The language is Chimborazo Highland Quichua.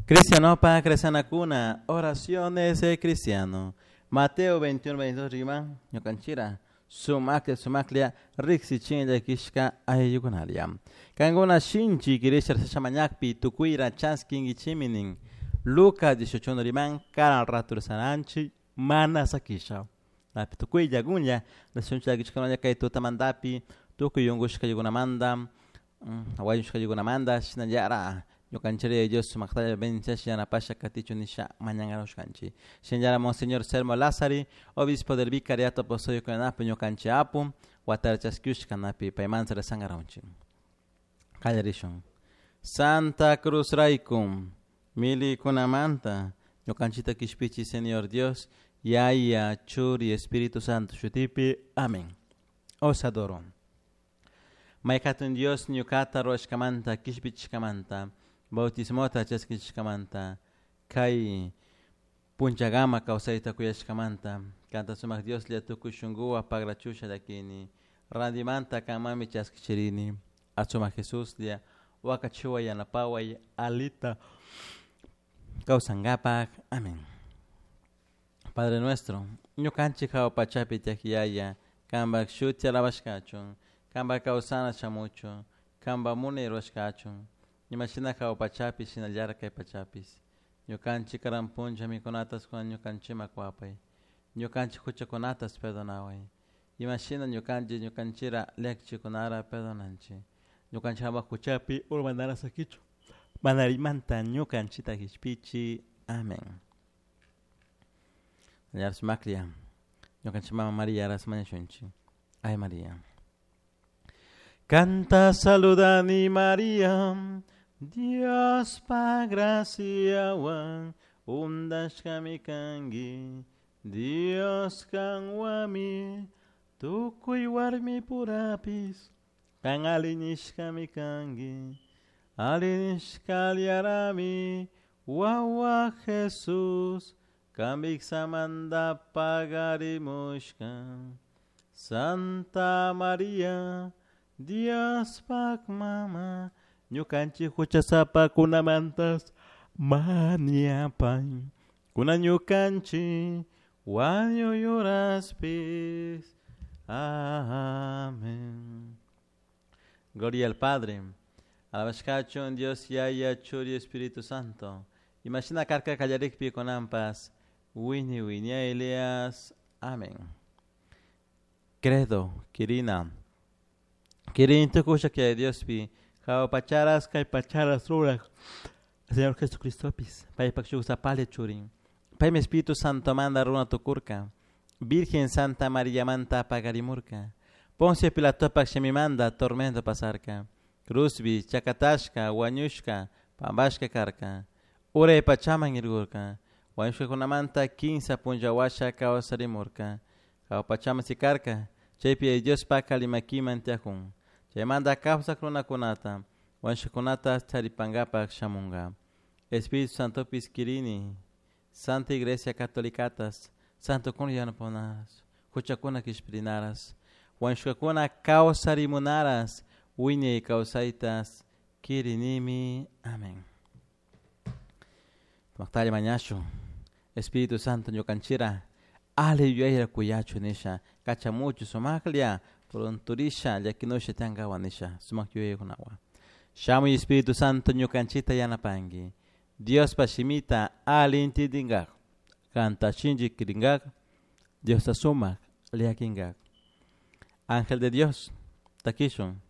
Cristianopa cristianakuna, oraciones de cristiano. Mateo 21, 22 riman, ñukanchira, sumaklla sumaklla riksichin llakishka ayllukunalla. Kankuna shinchi kirisha mañakpi tukuyra chaskinkichimi nin. Lucas 18 riman, karan rato rezananchik mana sakisha. Napi tukuylla kunlla, rishunchik llakishkunalla kay tutamantapi, tukuy unkushkaykunamanta, wañushkaykunamanta, shinallara ñukanchik Dios sumaqtalla bendiciasha yanapasha katichun nisha mañankarushkanchik. Shinallara Monseñor Selmo Lázari, obispo del Vicariato Apostólico napi ñukanchik apu, watara chaskiushka napi paymanta rezankarawunchik. Qallarishun. Santa Cruz rayku, milikunamanta, ñukanchikta kishpichi Señor Dios, Yaya, Churi, Espíritu Santo shutipi. Amén. Os adoro. May hatun Dios ñukata ruwashkamanta, kishpichishkamanta, bautismota chaskichishkamanta, kay punchagama kawsayta kuyashkamanta, kanta sumak Dioslla tukuy shunkuwan pagrachusha llakini, randimanta kanmanmi chaskichirini, asumak Jesuslla wakachiway yanapaway alita kawsankapak. Amén. Padre nuestro, ñukanchik hawa pachapi tiyak Yaya, kanpak shuti alabashkachun, kanpak kawsana shamuchun, kanpak munay rurashkachun, imashina hawa pachapi shinallara kay pachapis. Ñukanchik karan punlla mikunatas kunan ñukanchikman kuwapay, ñukanchik huchakunatas perdonaway, imashina ñukanchik ñukanchira llakichikunara perdonanchik, ñukanchik ama huchapi urmanara sakichun, manarimanta ñukanchikta kishpichi. Amén. Sumaklla, ñukanchik mama María ras mañashunchik. Ay María. Canta saludani María, Dios pa graciawan, undashkami kanki, Dios kanwami, tukuy warmi purapis, kan alinishkami kanki, alinishkallarami, wawa Jesús, kambiksamanta pagarimushka. Santa María, Dios pak mama, ñukanchik huchasapakunamantas mañapay, kuna ñukanchik wañuyuraspis. Amén. Gloria al Padre, alabashkachun Dios Yaya, Churi, Espíritu Santo. Imashina karka kallarikpi kunanpas, wini wiñaylias. Amén. Credo, Kirina. Kirin tukusha que Diospi, hawa pacharas kay pacharas rurak. Señor Jesucristopis, paypak shuk sapali churin. Paymi Espíritu Santo manda runa tukurka. Virgen Santa María manta pagarimurka. Poncio Pilatopak shimimanda tormento pasarka. Cruzbi, chakatashka, wañushka, pambashka karka. Uray pachaman irgurka. Wañushkakunamanta kinsa punllawasha kawsarimurka. Hawa pachaman sikarka. Chaypi Diospak kalimakiman tiyakun. Chaymanta kawsak runakunata, wañushkakunata charipankapak shamunka. Espíritu Santopis kirini, Santa Iglesia Catolicatas, Santo kun yanapanas, huchakuna kishpirinaras, wañushkakuna kawsarimunaras, wiñay kawsaytas kirinimi. Amén. Maqtalla mañashu, Espíritu Santo ñukanchira, ali yuyayra kuyachu nisha, kachamuchu sumaklla, pronturisha, llakinusha tiankawa nisha, sumak yuyaykunawa. Shamuy Espíritu Santo ñukanchita yanapanki, Diospa shimita ali intindinkak, kanta shinchi kirinkak, Diosta sumak llakinkak. Ángel de Dios, takishun.